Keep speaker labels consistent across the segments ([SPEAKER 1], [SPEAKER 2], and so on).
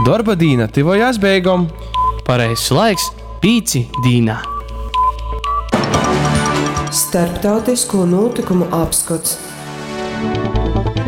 [SPEAKER 1] Dorba dīna tyvojās beigom.
[SPEAKER 2] Pareizs laiks pīci dīnā.
[SPEAKER 3] Starptautisko nūtykumu apskots.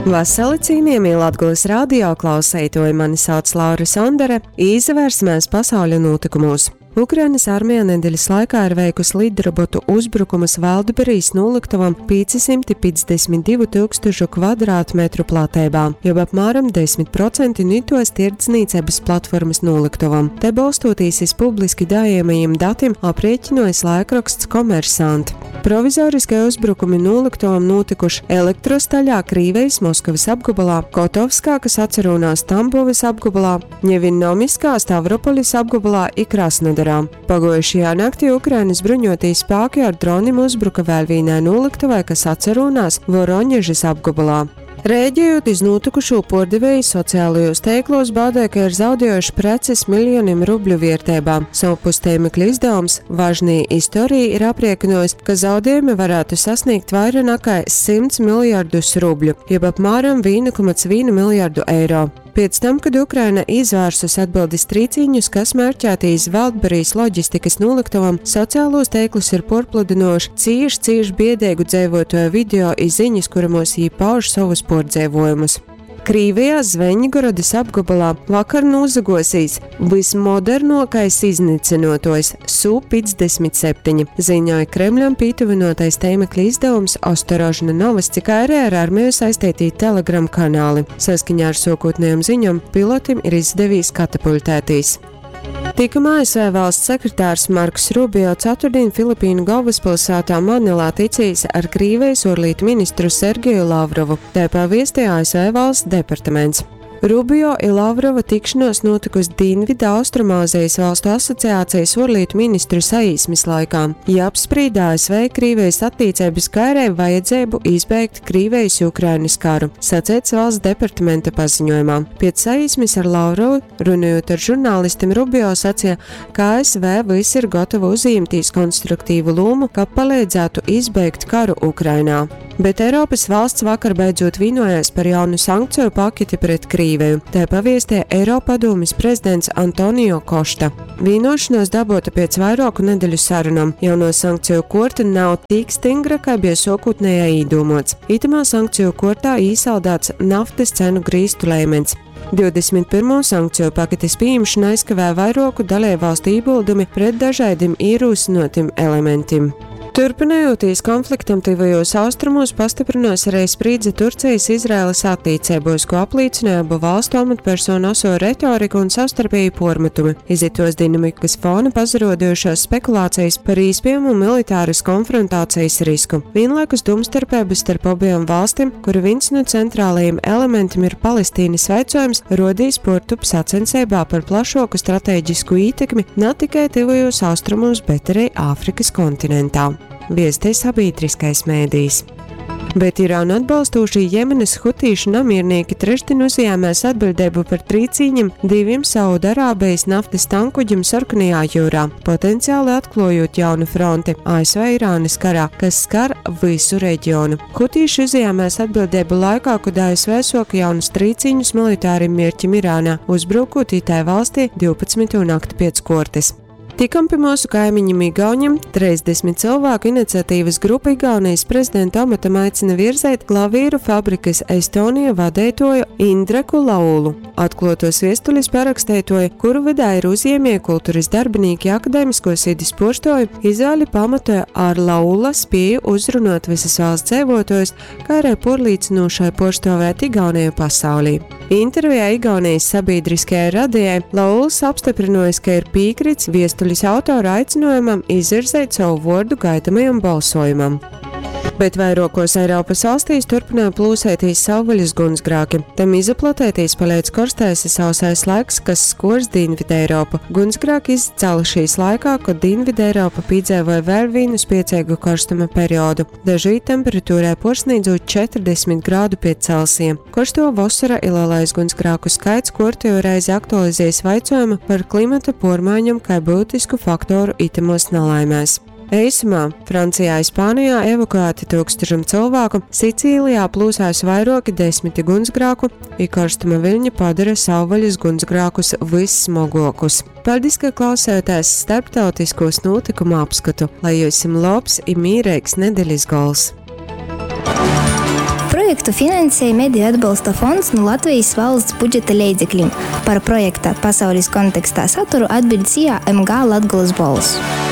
[SPEAKER 3] Vasali cienījamie Latgulas radio klauseitoji, mani sauc Laura Sondere, īsavērsimies pasauļa nūtykumos. Ukrainas armija nedeļas laikā ir veikusi lidrobotu uzbrukumus Valdberijas noliktavam 552 tūkstošu kvadrātmetru plateibā, jeb apmēram 10% nitos tirdzniecības platformas noliktavam. Te balstoties iz publiski daejamajiem datiem aprēķinojis laikraksts Komersant. Provizoriskie uzbrukumi noliktavam notikuši Elektrostaļā, Krīvejas Moskavas apgabalā, Kotovskā, kas atcerunās Tambovas apgabalā, Ņevinnomiskā, Stavropolis apgabalā i Krasnodarā. Paguojušajā naktī Ukrainas bruņotī spāki ar dronim uzbruka vēl vīnai noliktavai, kas atcerunās Voroņežas apgabalā. Rēģējot iz nūtykušū, puordevēji sociālajos teiklos bādē, ka ir zaudējuši preces miljonim rubļu vierteibā. Sovpus tēmekļa izdevums Važnī istorija ir apriekinojis, ka zaudējumi varētu sasniegt vaira nakai 100 miljardus rubļu, jeb apmēram 1,1 miljardu eiro. Pēc tam, kad Ukraina izvērsus atbildes trīcīņus, kas mērķēti iz Valdberijas loģistikas noliktavam, sociālos teiklus ir porpludinoši cīši, cīši biedēgu dzeivotoju video i ziņas, kuramos jī pauž sovus pordzeivojumus. Krīvijā Zveņgorodas apgabalā vakar nūzagosīs vismodernokais iznycynuotuojs Su-57, ziņoja Kremļam pītuvynuotais tēmekļa izdevums Ostorožna novosti, kā arī ar armiju saisteitī Telegram kanāli. Saskaņā ar sokotnējām ziņom, pilotim ir izdevīs katapuļtētīs. Tikam ASV valsts sekretārs Marks Rubio ceturtdien Filipīnu galvaspilsētā Manilā ticīs ar Krīvijas orlītu ministru Sergeju Lavrovu, tā paviestīja ASV valsts departaments. Rubio i Lavrova tikšanos notikusi Dienvidu Austrumāzijas valstu asociācijas orlītu ministru saīsmes laikā. Ja apsprīda ASV Krīvijas attīcības kairē vajadzību izbeigt Krīvijas-Ukrainas karu, sacēts valsts departamenta paziņojumā. Pēc saīsmes ar Lavrovu, runājot ar žurnālistiem, Rubio sacīja, ka ASV viss ir gatava uzņemties konstruktīvu lomu, ka palīdzētu izbeigt karu Ukrainā. Bet Eiropas valsts vakar beidzot vienojās par jaunu sankciju paketi pret Krīveju. Tā paviestīja Eiropadomes prezidents Antonio Košta. Vienošanās dabota pēc vairāku nedēļu sarunām. Jauno sankciju korta nav tik stingra, kā bija sokotnējā īdūmots. Itamā sankciju kortā īsaldāts naftas cenu grīstu lēmens. 21. sankciju paketes pieņemšana aizkavē vairāku dalībvalstu ieguldumi pret dažādiem ierūsinotim elementiem. Turpinojoties konfliktam tuvajos austrumos, pastiprinās arī sprīdze Turcijas-Izraēlas attiecībos, ko apliecināja abu valstu amatpersonu oso retorika un savstarpēji pormetumi. Izitos dinamikas fona pazarodojušās spekulācijas par īspējamu militāras konfrontācijas risku. Vienlaikus domstarpības starp abiem valstīm, kura viens no centrālajiem elementiem ir Palestīnas vaicojums, rodīs portup sacensībā par plašāku strateģisku ietekmi ne tikai tuvajos austrumos, bet arī Āfrikas kontinentā. Viestē sabiedriskais mēdījis. Bet Irānu atbalstošie Jemenas hutīšu namiernieki trešdien uzņēmās atbildību par trīcīņiem diviem Saudarābijas naftas tankuģiem Sarkanajā jūrā, potenciāli atklājot jaunu fronti ASV-Irānas karā, kas skar visu reģionu. Hutīši uzņēmās atbildību laikā, kad ASV soka jaunus trīcīņus militāriem mērķim Irānā, uzbrukot itai valstī 12. nakti pēc kortes. Tikam pie mūsu kaimiņam Igauņam 30 cilvēku iniciatīvas grupa Igaunijas prezidenta amatam aicina virzēt klavīru fabrikas Estonija vadētoju Indreku Laulu. Atklātos viestulis parakstētoju, kuru vidā ir uzņēmēji, kultūras darbinieki, akadēmisko sidis porstoju, izvēli pamatoja ar Laula spēju uzrunāt visas valsts dzīvotājus, kā arī porlīdzinošai porstovēt Igauniju pasaulī. Intervijā Igaunijas sabiedriskajai radijai Lauls apstiprinojis, ka ir piekrits viestulis autora aicinājumam izvirzēt savu vārdu gaidamajam balsojumam. Bet vairākos Eiropas valstīs turpināja plūsētīs savvaļas gunsgrāki. Tam izaplatētīs paliec korstais i sausais laiks, kas skors Dienvidu Eiropu. Gunsgrāki izcēlušies laikā, kad Dienvidu Eiropa piedzīvoja vēl vienu spiecīgu karstuma periodu. Dažviet temperatūrai porsniedzot 40 grādu pie Celsija. Korsto vasara i lielais gunsgrāku skaits kortējo reizi aktualizējas vaicojumu par klimata pormaiņam kā būtisku faktoru itamos nelaimēs. Eisumā, Francijā i Spānijā evakuēti tūkstošim cylvāku, Sicīlijā plūsās vairuoki desmiti guņsgrāku i korstuma viļņi padora savvaļas guņsgrākus vys smoguokus. Paļdis, ka klausējotēs starptautiskūs nūtykumu apskotu, lai jyusim lobs i mīreigs nedelis gols!
[SPEAKER 4] Projektu finansej Mediju atbalsta fonds nu Latvejis valsts budžeta leidzeklim. Par projekta Pasaulis kontekstā saturu atbiļd SIA MG Latgolys Bolss.